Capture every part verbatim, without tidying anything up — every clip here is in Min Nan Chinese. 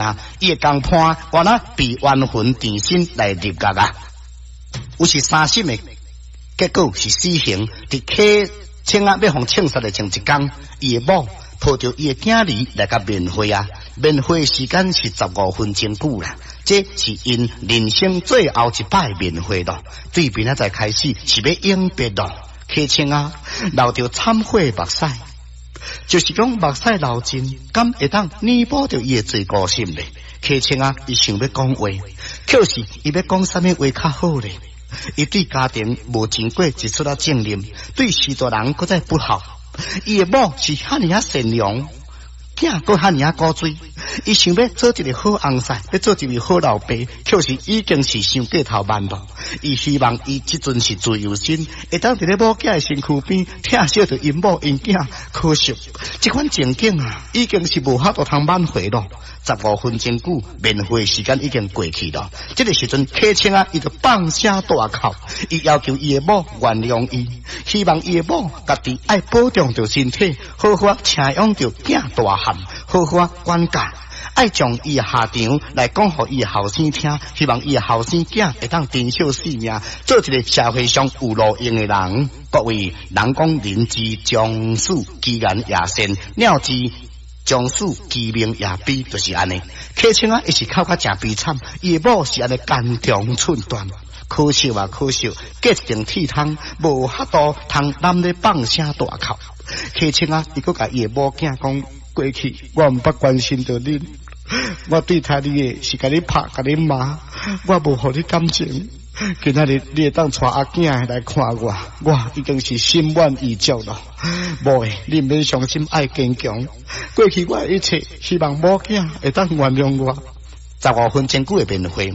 啊，伊的公判原來被冤魂纏身來入獄啊！有是三審的結果是死刑，佇柯清仔欲予槍殺的前一工，伊的某抱著伊的囝兒來共面會啊！面會時間是十五分鐘久啦，這是𪜶人生最後一擺面會咯。對明仔載開始是欲永別咯。柯清仔流著懺悔目屎，就是講目屎流盡，敢會當彌補著伊的罪過心咧？柯清仔伊想欲講話，可是伊欲講啥物話較好咧？伊對家庭無盡過一絲仔責任，對序大人閣再不孝。伊的某是遐爾仔善良，囝閣遐爾仔古錐。伊想欲做一个好翁婿，欲做一位好老爸，可是已經是傷過頭慢咯。伊希望伊這陣是自由身，會當佇咧某囝的身軀邊疼惜著𪜶某𪜶囝。可惜這款情景啊，已經是無法度通挽回咯。十五分鐘久，面會時間已經過去咯。這个時陣，柯清仔，伊就放聲大哭，伊要求伊的某原諒伊，希望伊的某家己愛保重著身體，好好請養著囝大漢，好好管教，愛將伊的下場來講予伊的後生聽，希望伊的後生囝會當珍惜性命，做一个社會上有路用的人。各位，人講人之將死，其言也善；鳥之將死，其鳴也悲，就是按呢。柯清仔，伊是哭甲誠悲慘，伊的某是按呢肝腸寸斷，可惜啊，可惜，隔一陣鐵窗，無法度通攬咧放聲大哭。柯清仔，伊閣共伊的某囝講：過去我毋捌關心著恁，我對待你的是共你拍，共你罵，我無予你感情。今仔日你會當帶阿囝來看我，我已經是心滿意足咯。某的，你毋免傷心，愛堅強。過去我的一切，希望某囝會當原諒我。十五分鐘久的面會，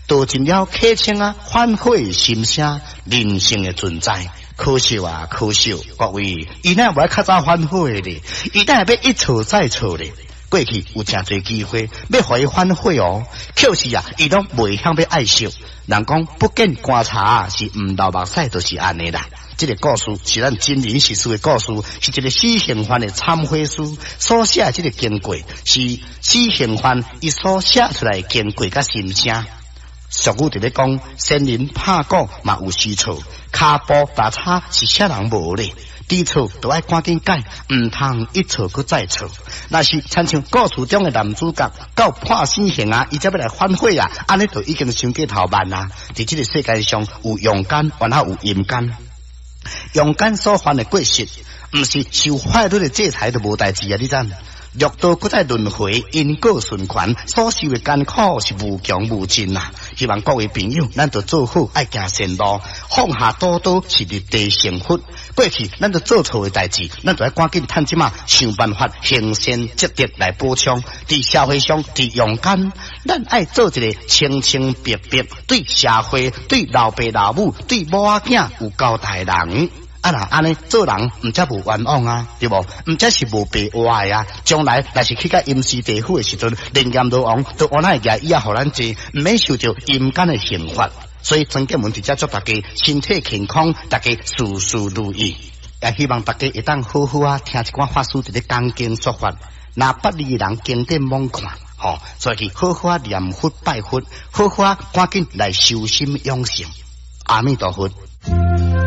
道盡了柯清仔反悔心聲，人性的存在。可惜啊，可惜，各位，伊哪會無愛較早反悔咧？伊哪會欲一錯再錯咧？過去有誠濟機會欲予伊反悔哦，可是啊，伊攏袂曉欲愛惜。人講不見棺材是毋流目屎，就是按呢啦。這个故事是咱真人實事的故事，是一个死刑犯的懺悔書所寫的這个經過，是死刑犯伊所寫出來的經過佮心聲。俗語佇咧講，仙人拍鼓嘛有時錯，跤步踏差是啥人無咧？知錯就愛趕緊改，毋通一錯閣再錯。若是親像故事中的男主角到判死刑啊，伊才欲來反悔啊，按呢就已經傷過頭慢啊！佇這个世界上有陽間，還有陰間。陽間所犯的過失，毋是受法律的制裁就無代誌啊！你知？六道閣再輪迴，因果循環，所受的艱苦是無窮無盡啊！希望各位朋友，咱著做好，愛行善路，放下屠刀是立地成佛。過去咱著做錯的代誌，咱著愛趕緊趁這馬想辦法行善積德來補充。佇社會上，佇陽間，咱愛做一个清清白白，對社會、對老爸老母、對某仔囝有交代的人。啊若按呢做人，毋才無冤枉啊，對無？毋才是無白活的啊！將來若是去到陰司地府的時陣，靈閻羅王都按那會舉椅仔予咱坐，毋免受著陰間的刑罰。所以曾建文佇遮祝大家身體健康，大家事事如意，也希望大家會當好好啊聽一寡法師佇咧講經說法，若捌字的人經典罔看，吼，所以去好好啊念佛拜佛，好好啊趕緊來修心養性。阿彌陀佛。